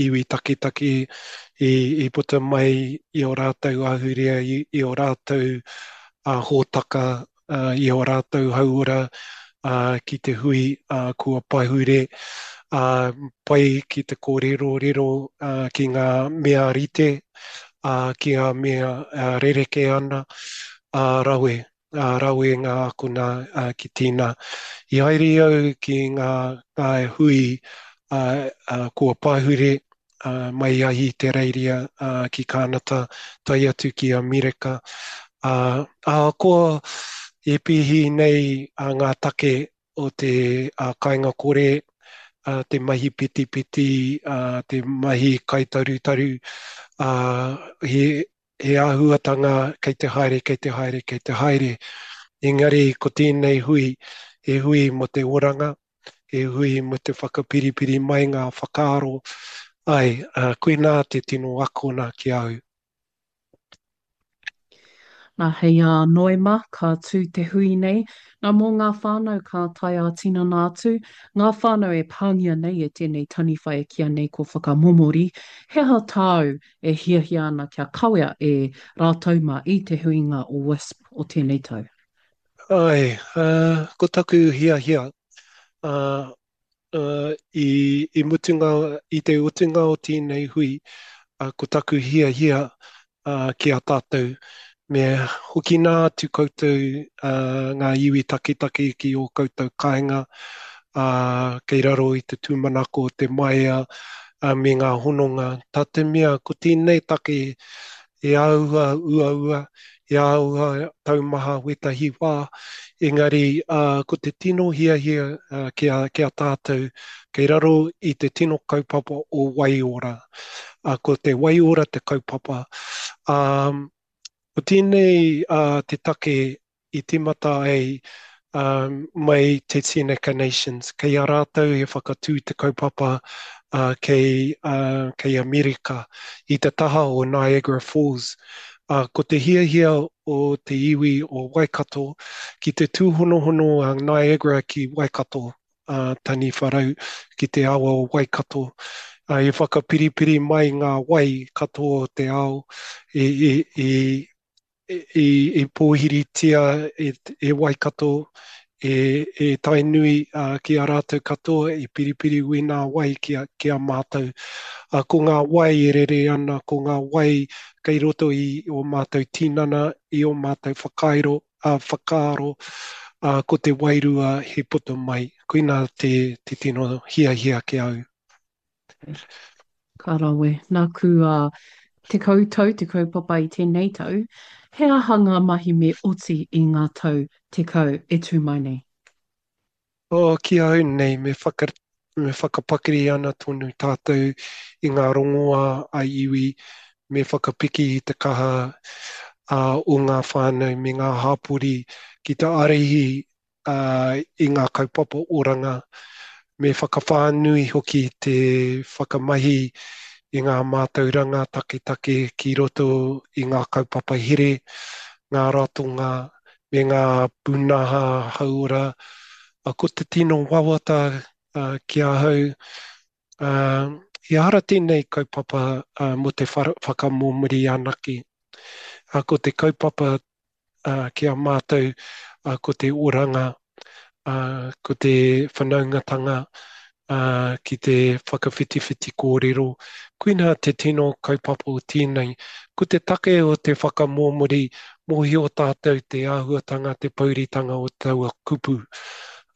iwi taketake i, i puta mai i ō rātou ahurea, i, i ō rātou uh, hōtaka, uh, i ō rātou hauora uh, ki te hui uh, kua pahure, uh, pai ki te kōrerorero uh, ki ngā mea rite, uh, ki ngā mea uh, rerekē ana, uh, rawe. Uh, rawe ngā akona uh, ki tēnā. I haere au ki ngā, ngā hui uh, uh, kua pahure uh, mai a Ahitereiria uh, ki Kānata, tae atu ki Amerika. Uh, ahakoa e pēhi nei uh, ngā take o te uh, kāinga kore, uh, te mahi petipeti, uh, te mahi kaitarutaru, uh, he, he āhuatanga kei te haere, kei te haere, kei te haere. Engari ko tēnei hui, he hui mō te oranga, he hui mō te whakapiripiri mai ngā whakaaro. Ai, uh, koinā te tino akona ki au. Nā, hei a Noema, ka tū te hui nei. Nā, mō ngā whānau ka tae ā-tinana atu, ngā whānau e pāngia nei e tēnei taniwha e kīia nei ko Whakamomori, he aha tāu e hiahia ana kia kawea e rātou mā i te huinga o WISP o tēnei tau? Ai, uh, ko taku hiahia, uh, uh, i, i, mutunga, i te utunga o tēnei hui, uh, ko taku hiahia uh, ki a tātou, me hoki nā atu koutou uh, ngā iwi taketake ki ō koutou kāinga, uh, kei raro i te tūmanako o te maea uh, me ngā hononga. Tā te mea, ko tēnei take e āhua uaua, e āhua taumaha wētahi wā, engari uh, ko te tino hiahia uh, ki a, ki a tātou, kei raro i te tino kaupapa o waiora. Uh, ko te waiora te kaupapa. Um, ko tēnei uh, te take i tīmata ai um, mai te Seneca Nations. Kei a rātou e whakatū te kaupapa uh, kei, uh, kei Amerika i te taha o Niagara Falls. Uh, ko te hiahia o te iwi o Waikato ki te tūhonohono a Niagara ki Waikato, uh, Taniwharau, ki te awa o Waikato. Uh, e whakapiripiri mai ngā wai katoa o te ao i, i, i, i, i pōhiritia e, e Waikato, e, e Tainui uh, ki a rātou katoa, i piripiri ui ngā wai ki a, ki a mātou. Uh, ko ngā wai e rere ana, ko ngā wai kei roto i o mātou tinana, i o mātou whakairo, uh, whakaaro, uh, ko te wairua he puta mai. Koinā te, te tino hiahia ki au. Ka rawe. Nāku uh, tekau tau te kaupapa i tēnei tau, he aha ngā mahi me oti i ngā tau tekau e tū mai nei? Oh, ki au nei, me, whaka, me whakapakari ana tonu tātou i ngā rongoā a iwi, me whakapiki i te kaha uh, o ngā whānau me ngā hapori ki te ārahi uh, i ngā kaupapa oranga, me whakawhānui hoki te whakamahi i ngā mātauranga taketake ki roto i ngā kaupapa here, ngā ratonga, me ngā pūnaha hauora. Ko te tino wawata uh, ki ahau, uh, i ara tēnei kaupapa uh, mō te whakamōmuri anake. Uh, ko te kaupapa uh, ki a mātou, uh, ko te oranga, uh, ko te whanaungatanga, uh, ki te whakawhitiwhiti kōrero. Koinā te tino kaupapa o tēnei. Ko te take o te whakamōmuri, mōhio tātou te āhuatanga, te pouritanga o taua kupu.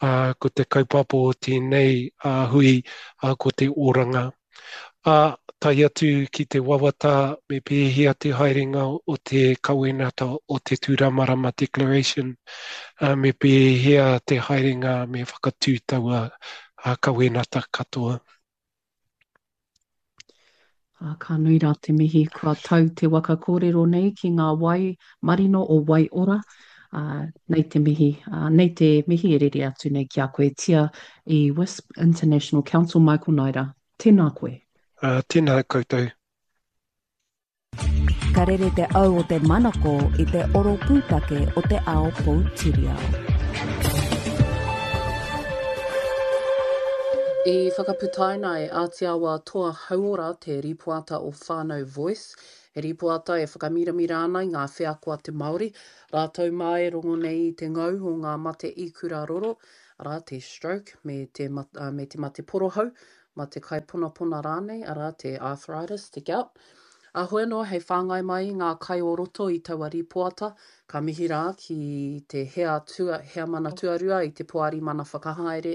Uh, ko te kaupapa o tēnei uh, hui, uh, ko te oranga. Uh, tae atu ki te wawata me pēhea te haerenga o te kawenata o te Tūramarama Declaration, uh, me pēhea te haerenga me whakatū taua uh, kawenata katoa. Ah, ka nui rā te mihi, kua tau te waka kōrero nei ki ngā wai marino o Waiora. Uh, nei te mihi, uh, nei te mihi e rere atu nei ki a koe Tia i WISP International Council Michael Naida. Tēnā koe. Uh, tēnā koutou. Ka rere te au o te manako i te oro pūtake o te ao poutiriao. I whakaputaina e Ātiawa Toa Hauora te rīpoata o Whānau Voice, he rīpoata e whakamiramira ana i ngā wheako a te Māori, rātou mā e rongo nei i te ngau o ngā mate ikura roro, arā, te stroke, me te, me te mate porohau, mate kaiponapona rānei, arā, te arthritis, te gout. Ā, hoi anō hei whāngai mai i ngā kai o roto i taua rīpoata, ka mihi rā ki te hea tua, heamana tuarua i te Poari Mana Whakahaere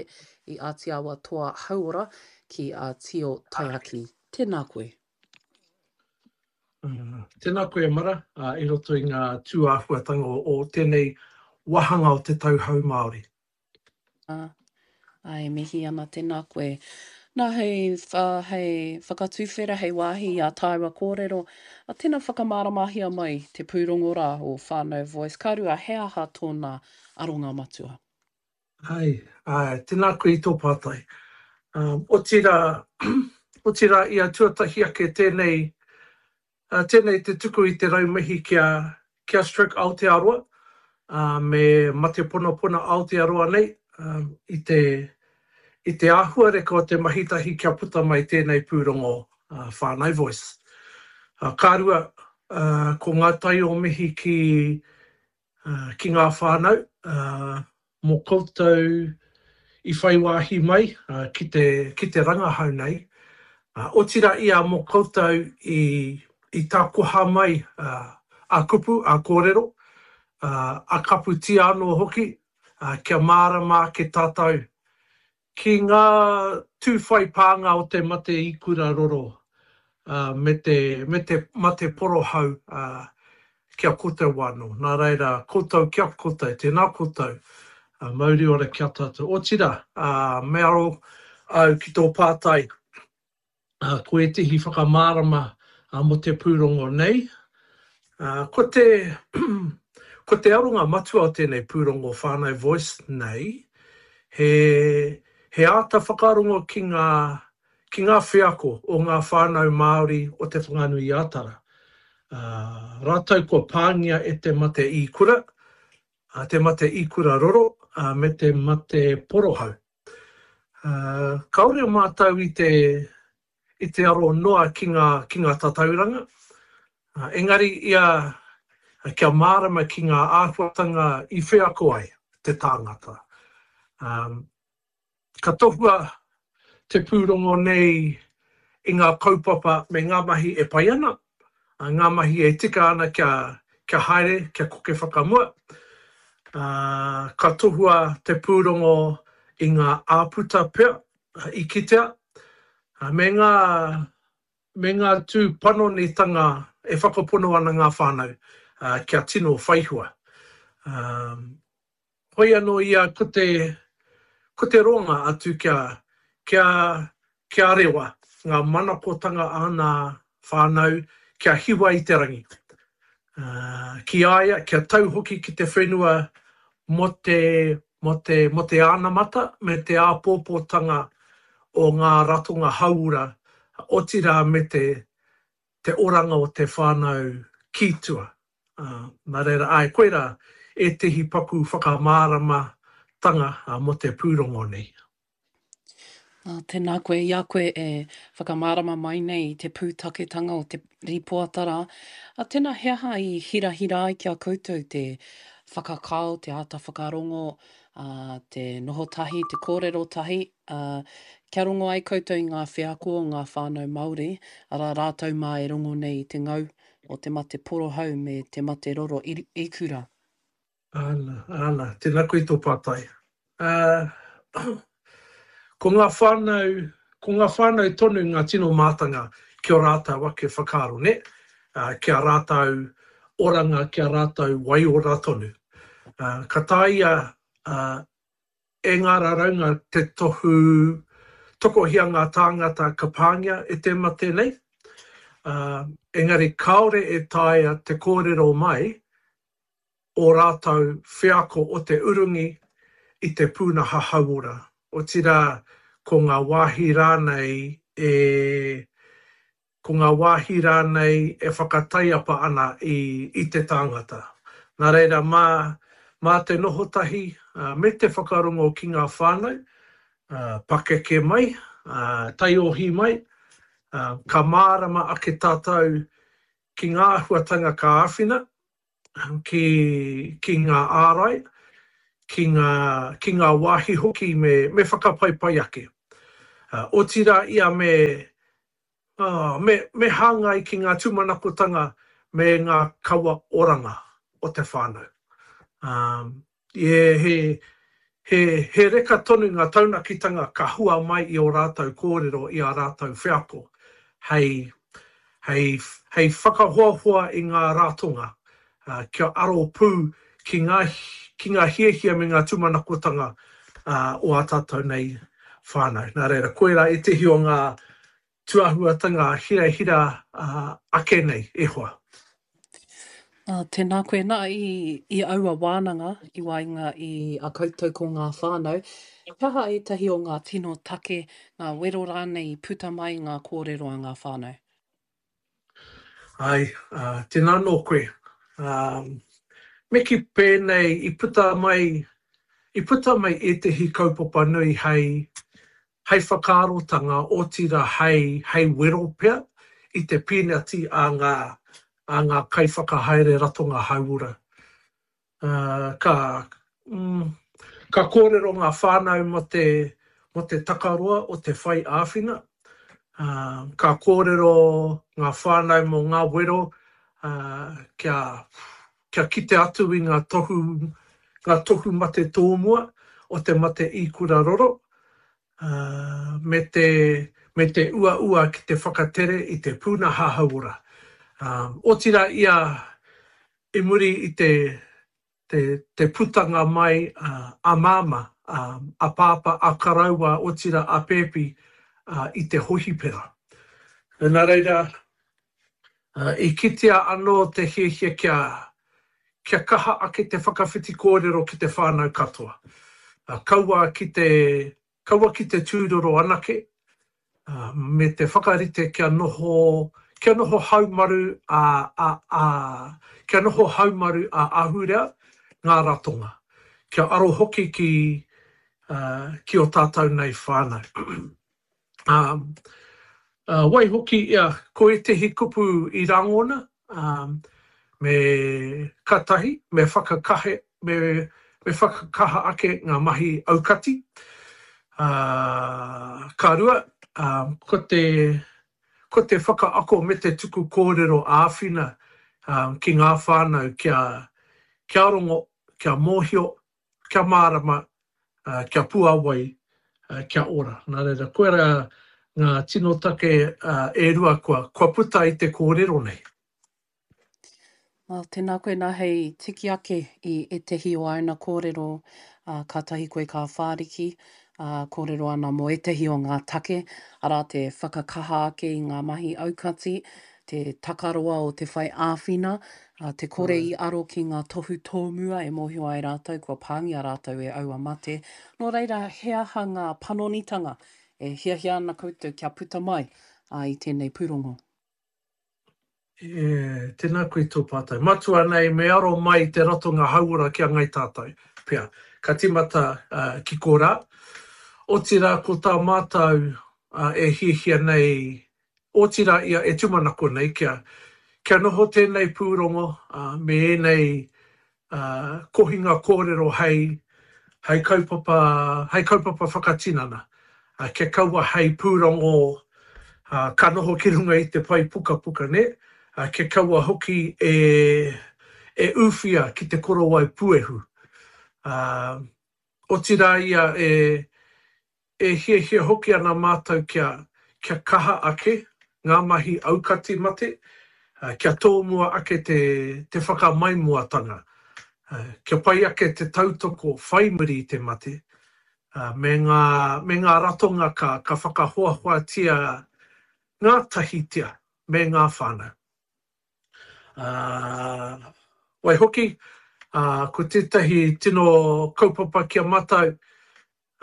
i Ātiawa Toa Hauora ki a Tio Taiaki. Tēnā koe. Tēnā koe e Mara, i roto i ngā tūāhuatanga o tēnei wāhanga o te Tau Hou Māori. Ā, e mihi ana, tēnā koe. Nā, hei, hei whakatuwhera, hei wāhi i ā tāua kōrero, ā, tēnā whakamāramahia mai te pūrongo rā o Whānau Voice. Ka rua, he aha tōna aronga matua? Āe, āe, tēnā koe i tō pātai. Um, otirā, otirā ia tuatahi ake tēnei Ā, tēnei te tuku i te rau mihi ki a, ki a Stroke Aotearoa, ā, me Mate Ponapona Aotearoa nei, ā, i te, i te āhuareka o te mahi tahi kia puta mai tēnei pūrongo, ā, Whānau Voice. Ā, ka rua, ā, ko ngā tai o mihi ki, ā, ki ngā whānau, ā, mō koutou i whai wāhi mai ki te, ki te rangahau nei, otirā ia mō koutou i, i tākoha mai a kupu, a kōrero, a kaputia anō hoki, kia mārama ake tātou ki ngā tū whai pānga o te mate ikura roro me te, me te mate porohau ki a koutou anō. Nā reira, koutou ki a koutou, tēnā koutou, mauri ora ki a tātou. Otirā, me aro au ki tō pātai, ko ētehi whakamārama mō te pūrongo nei. Ko te, ko te aronga matua o tēnei pūrongo Whānau Voice nei, he, he āta whakarongo ki ngā, ki ngā wheako o ngā whānau Māori o Te Whanganui-a-Tara. Rātou kua pāngia e te mate ikura, te mate ikura roro, me te mate porohau. Kāore mātou i te, i te aro noa ki ngā, ki ngā tatauranga, engari ia kia mārama ki ngā āhuatanga i wheako ai te tāngata. Ka tohua te pūrongo nei i ngā kaupapa me ngā mahi e pai ana, ngā mahi e tika ana kia, kia haere, kia koke whakamua. Ka tohua te pūrongo i ngā āputa pea i kitea, me ngā, me ngā tū panonitanga e whakapono ana ngā whānau kia tino whaihua. Hoi anō ia ko te, ko te roanga atu kia, kia, kia rewa ngā manakotanga a nā whānau kia hiwa i te rangi. Ki a ia, kia tau hoki ki te whenua mō te, mō te, mō te anamata me te āpōpōtanga o ngā ratonga hauora, otirā me te, te oranga o te whānau ki tua. Nā reira, āe, koirā ētehi paku whakamāramatanga mō te pūrongo nei. Nā, tēnā koe, i a koe e whakamārama mai nei i te pūtaketanga o te rīpoata rā. Ā, tēnā, he aha i hirahira ai ki a koutou te whakakao, te āta whakarongo, ā, te noho tahi, te kōrero tahi, ā, kia rongo ai koutou i ngā wheako o ngā whānau Māori, arā, rātou mā e rongo nei i te ngau o te mate porohau me te mate roro ikura. Āna, āna, tēnā koe i tō pātai. Ā, ko ngā whānau, ko ngā whānau tonu ngā tino mātanga ki ō rātou ake whakaaro, nē? Ā, ki a rātou oranga, ki a rātou waiora tonu. Ā, ka taea, ā, e ngā raraunga te tohu tokohia ngā tāngata ka pāngia e te mate nei, ā, engari kāore e taea te kōrero mai ō rātou wheako o te urungi i te pūnaha hauora, otirā ko ngā wāhi rānei e ko ngā wāhi rānei e whakataiapa ana i i te tāngata. Nā reira, mā, mā te noho tahi me te whakarongo ki ngā whānau, pakeke mai, taiohi mai, ka mārama ake tātou ki ngā āhuatanga ka āwhina, ki, ki ngā ārai, ki ngā, ki ngā wāhi hoki me, me whakapaipai ake. Otirā ia me, me, me hāngai ki ngā tūmanakotanga me ngā kawa oranga o te whānau. Um, he, he, he, he reka tonu ngā taunakitanga ka hua mai i ō rātou kōrero, i ā rātou wheako, hei, hei, hei whakahoahoa i ngā ratonga, uh, kia aro pū ki ngā, ki ngā hiahia me ngā tūmanakotanga uh, o ā tātou nei whānau. Nā reira, koirā ētehi o ngā tūāhuatanga hirahira uh, ake nei, e hoa. Uh, tēnā koe nā i, i aua wānanga i waenga i a koutou ko ngā whānau. He aha ētahi o ngā tino take, ngā wero rānei i puta mai i ngā kōrero a ngā whānau? Ai, uh, tēnā nō koe. Um, me kī pēnei i puta mai, i puta mai ētehi kaupapa nui hei, hei whakaarotanga, otirā hei, hei wero pea i te pīnati a ngā, a ngā kaiwhakahaere ratonga hauora. Uh, ka, mm, ka kōrero ngā whānau mō te, mō te takaroa o te whai āwhina. Uh, ka kōrero ngā whānau mō ngā wero uh, kia, kia kite atu i ngā tohu, ngā tohu mate tōmua o te mate īkura roro, uh, me te, me te uaua ki te whakatere i te pūnaha hauora. Um, otirā ia i muri i te, te, te putanga mai uh, a māmā, um, a pāpā, a karaua, otirā a pēpi uh, i te hohipera. Nā reira, uh, i kitea anō te hiahia kia, kia kaha ake te whakawhiti kōrero ki te whānau katoa. Uh, kaua ki te, kaua ki te tūroro anake, uh, me te whakarite kia noho, kia noho haumaru a, a, a, kia noho haumaru a ahurea ngā ratonga, kia aro hoki ki, uh, ki o tātou nei whānau. um, uh, waihoki, ia, ko ētehi kupu i rangona, um, me ka tahi, me whakakahe, me, me whakakaha ake ngā mahi aukati. Uh, ka rua, um, ko te, ko te whakaako me te tuku kōrero āwhina um, ki ngā whānau kia, kia rongo, kia mōhio, kia mārama, uh, kia puāwai, uh, kia ora. Nā reira, koirā ngā tino take uh, e rua kua, kua puta i te kōrero nei. Well, tēnā koe nā hei tiki ake i ētehi o āna kōrero, uh, kātahi koe ka whāriki, uh, kōrero ana mō ētehi o ngā take, arā te whakakaha ake i ngā mahi aukati, te takaroa o te whai āwhina, uh, te kore i aro ki ngā tohu tōmua e mōhio ai rātou kua pāngia rātou e aua mate. Nō reira, he aha ngā panonitanga e hiahia ana koutou kia puta mai uh, i tēnei pūrongo? E, tēnā koe tō pātai. Matua nei, me aro mai te ratonga hauora ki a Ngai Tātou, pea. Ka tīmata uh, ki korā. Otirā ko tā mātou uh, e hiahia nei, otirā ia e tūmanako nei kia, kia noho tēnei pūrongo uh, me ēnei uh, kohinga kōrero hei, hei kaupapa, hei kaupapa whakatinana. Uh, kia kaua hei pūrongo uh, ka noho ki runga i te pae pukapuka, ne? Uh, kia kaua hoki e, e ūwhia ki te korowai puehu. Uh, otirā ia e, e hiahia hoki ana mātou kia, kia kaha ake ngā mahi aukati mate, uh, kia tōmua ake te, te whakamaimuatanga, uh, kia pai ake te tautoko whai muri i te mate, uh, me ngā, me ngā ratonga ka, ka whakahoahoatia ngā tahitia me ngā whānau. Uh, waihoki, uh, ko tētahi tino kaupapa kia mātou,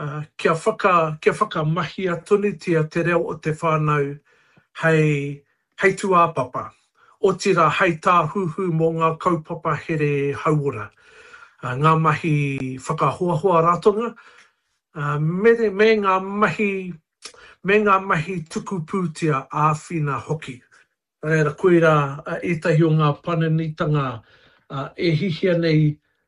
uh, kia, whaka, kia whakamahia tonutia te reo o te whānau hei, hei tūāpapa, otirā hei tāhuhu mō ngā kaupapa here hauora. Uh, ngā mahi whakahoahoa ratonga, me, me ngā mahi, me ngā mahi tuku pūtea āwhina hoki. Reira, koirā ētahi o ngā panonitanga e hihia nei